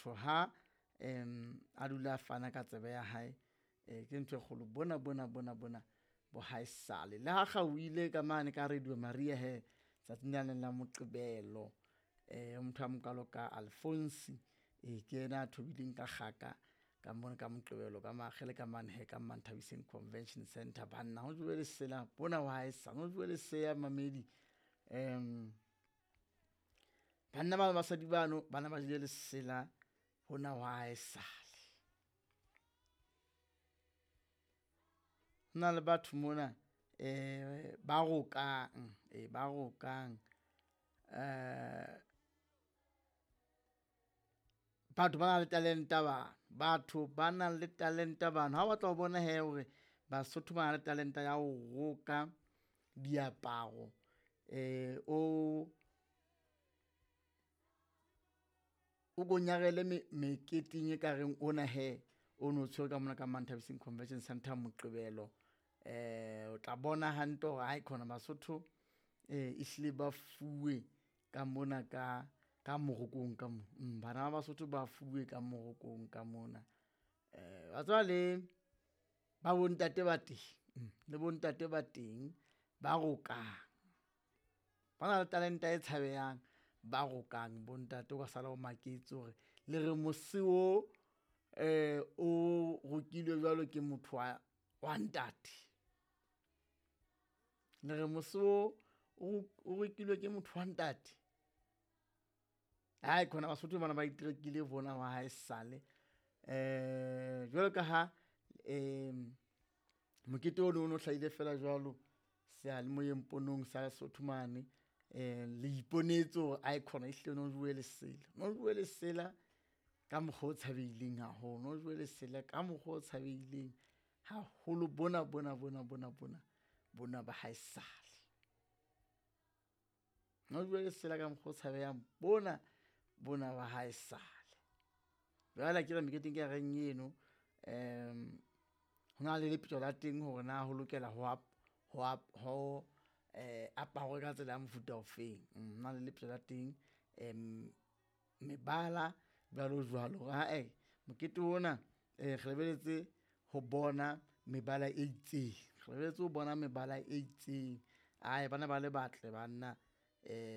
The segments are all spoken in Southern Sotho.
Motho ha a dula a fana ka tsebe ya hae, ke ntho e kgolo. Bona bona bona bona bo haesale. Le ha kgaohile ka mane ka Radio Maria he tsatsing lane la Moqebelo, motho a mokalo ka Alphonse, ke yena a thobileng ka kgaka ka mona ka Moqebelo ka makgele ka mane he ka Manthabiseng Convention Center. Banna ho jowe lesela bona wa haesale, ho jowe leseya mamedi. Banna ba basadi bano bana ba jele lesela hona wa haesale. Ho na le batho mona ba rokang, ba rokang, batho ba nang le talenta bana, batho ba nang le talenta bana. Ha o batla ho bona hee hore Basotho ba na le talenta ya ho roka diaparo, o ko nyarele meketeng e kareng ona hee o no tshwere ka mona ka Manthabiseng Convention Center Moqebelo. O tla bona hantle hore ae khona Basotho ehlile ba fuwe ka mona ka morokong ka mona. Bana ba Basotho ba fuwe ka morokong ka mona. Wa tseba le ba bontate ba teng, le bontate ba teng ba rokang, ba na le talenta e tshabehang, ba rokang bontate. O ka sala o maketse hore le re mose o o rokilwe jwalo ke motho wa ntate, le re mose o rekilwe ke motho wa ntate. Ae khona Basotho bana ba iterekile bona wa haesale. Jwalo ka ha mokete ono o no hlahile feela jwalo seyalemoyeng ponong sa Lesotho mane, le iponetse hore ae khona ehlile no jowe lesela, no jowe lesela ka mokgwa o tshabeileng haholo, no jowe lesela ka mokgwa o tshabeileng haholo. Bona bona bona bona bona bona ba haesale, no jowe lesela ka mokgwa o tshabehang bona bona ba haesale. Jwale akere meketeng e reng eno, ho na le lepetjo la teng hore na ho lokela ho aparwe ka tsela ya mofuta ofeng. Ho na le lepetjo la teng, mebala jwalo jwalo hore ae mokete ona re lebelletse ho bona mebala e itseng, re lebelletse ho bona mebala e itseng. Ae bana ba le batle banna,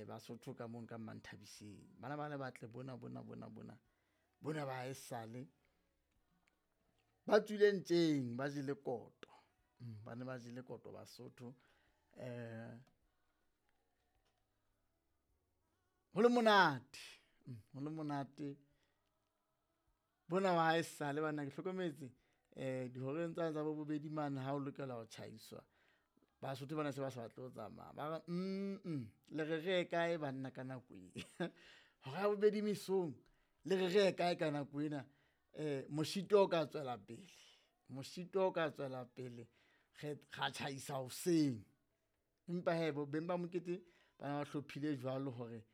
Basotho ka mono ka Manthabiseng, bana ba le batle bona bona bona bona bona ba haesale ba tswile ntjeng, ba jele koto. Ba ne ba jele koto Basotho. Ho le monate, ho le monate bona ba haesale banna. Ke hlokometse dihoreng tsane tsa bo bobedi mane ha o lokela ho tjhaiswa, Basotho bana se ba sa batle ho tsamaya, ba re le re re ye kae banna ka nako e? Hora ya bobedi mesong le re re ye kae ka nako ena? Moshito o ka tswela pele, moshito o ka tswela pele re ra tjhaisa hoseng. Empa hee bo beng ba mokete ba hlophile jwalo hore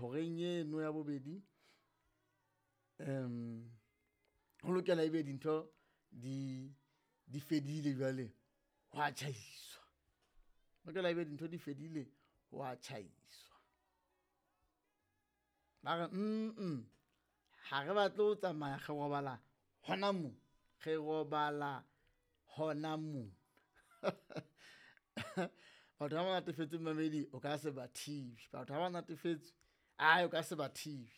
horeng eno ya bobedi ho lokela ebe dintho di fedile jwale ho a tjhaiswa, lokela ebe dintho di fedile ho a tjhaiswa. Ba re ha re batle ho tsamaya, re robala hona moo, re robala hona moo. Batho ba ba natefetsweng mamedi o ka se ba thibe, batho ha ba natefetswe ae o ka se ba thibe.